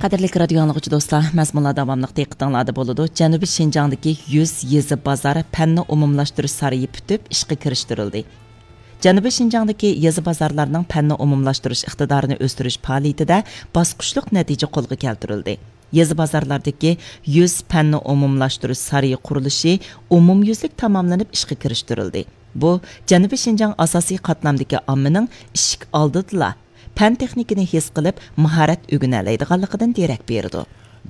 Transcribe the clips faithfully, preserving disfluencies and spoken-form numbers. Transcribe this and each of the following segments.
قەدىرلىك رادىيو ئاڭلىغۇچى دوستلار، مەزمۇنلار داۋاملىق دىققىتىڭلاردا بولىدۇ. جەنۇبىي شىنجاڭدىكى يۈز يېزا بازار پەننى ئومۇملاشتۇرۇش سارىيى پۈتۈپ ئىشقا كىرىشتۈرۈلدى. جەنۇبىي شىنجاڭدىكى يېزا بازارلارنىڭ پەننى ئومۇملاشتۇرۇش ئىقتىدارىنى ئۆستۈرۈش پائالىيىتىدە باسقۇچلۇق نەتىجە قولغا كەلتۈرۈلدى. يېزا بازارلاردىكى يۈز پەننى ئومۇملاشتۇرۇش سارىيى قۇرۇلۇشى ئومۇميۈزلۈك تاماملىنىپ ئىشقا كىرىشتۈرۈلدى. بۇ، جەنۇبىي شىنجاڭ ئاساسىي قاتلامدىكى ئاممىنىڭ ئىشىك ئالدىدىلا پەن تېخنىكىنى ھېس قىلىپ، ماھارەت ئۆگىنەلەيدىغانلىقىدىن دېرەك بېرىدۇ.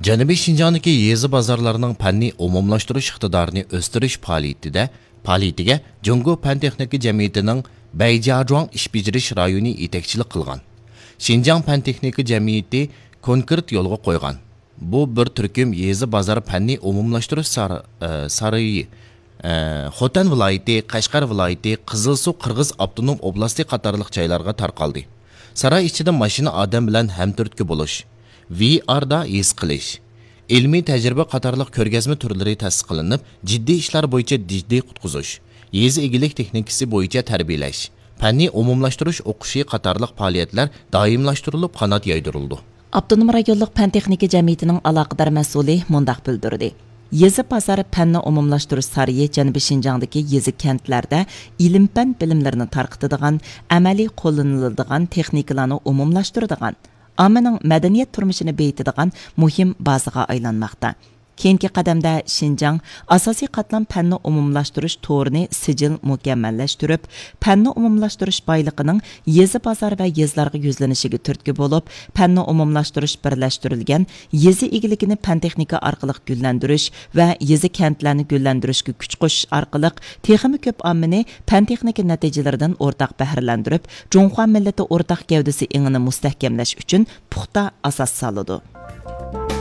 جەنۇبىي شىنجاڭدىكى يېزا بازارلارنىڭ پەننى ئومۇملاشتۇرۇش ئىقتىدارىنى ئۆستۈرۈش پائالىيىتىدە، پائالىيىتىگە جۇڭگو پەن تېخنىكا جەمئىيىتىنىڭ بەيجياجۇاڭ ئىش بېجىرىش رايونى يېتەكچىلىك قىلغان. شىنجاڭ پەن تېخنىكا جەمئىيىتى كونكرېت يولغا قويغان. بۇ بىر تۈركۈم يېزا بازار پەننى ئومۇملاشتۇرۇش سار-، ئە، سارىيى، ئە، خوتەن ۋىلايىتى، قەشقەر ۋىلايىتى، قىزىلسۇ قىرغىز ئاپتونوم ئوبلاستى قاتارلىق جايلارغا تارقالدى. ساراي ئىچىدە ماشىنا ئادەم بىلەن ھەمتۈرتكە بولۇش، ۋىئاردا ھېس قىلىش، ئىلمىي تەجرىبە قاتارلىق كۆرگەزمە تۈرلىرى تەسىس قىلىنىپ، جىددىي ئىشلار بويىچە جىددىي قۇتقۇزۇش، يېزا ئىگىلىك تېخنىكىسى بويىچە تەربىيەلەش، پەننى ئومۇملاشتۇرۇش ئوقۇشى قاتارلىق پائالىيەتلەر دائىملاشتۇرۇلۇپ قانات يايدۇرۇلىدۇ. ئاپتونوم رايونلۇق پەن تېخنىكا جەمئىيىتىنىڭ ئالاقىدار مەسئۇلى مۇنداق بىلدۈردى: يېزا بازار پەننى ئومۇملاشتۇرۇش سارىيى جەنۇبىي شىنجاڭدىكى يېزا كەنتلەردە ئىلىم پەن بىلىملىرىنى تارقىتىدىغان، ئەمەلىي قوللىنىلىدىغان تېخنىكىلارنى ئومۇملاشتۇرىدىغان، ئاممىنىڭ مەدەنىيەت تۇرمۇشىنى بېيىتىدىغان مۇھىم بازىغا ئايلانماقتا. كېيىنكى قەدەمدە شىنجاڭ ئاساسىي قاتلام پەننى ئومۇملاشتۇرۇش تورىنى سىجىل مۇكەممەللەشتۈرۈپ، پەننى ئومۇملاشتۇرۇش بايلىقىنىڭ يېزا بازار ۋە يېزىلارغا يۈزلىنىشىگە تۈرتكە بولۇپ، پەننى ئومۇملاشتۇرۇش بىرلەشتۈرۈلگەن يېزا ئىگىلىكىنى پەن تېخنىكا ئارقىلىق گۈللەندۈرۈش ۋە يېزا كەنتلەرنى گۈللەندۈرۈشكە كۈچ قوشۇش ئارقىلىق تېخىمۇ كۆپ ئاممىنى پەن تېخنىكا نەتىجىلىرىدىن ئورتاق بەھرىلەندۈرۈپ، جۇڭخۇا مىللىتى ئورتاق گەۋدىسى ئېڭىنى مۇستەھكەملەش ئۈچۈن پۇختا ئاساس سالىدۇ.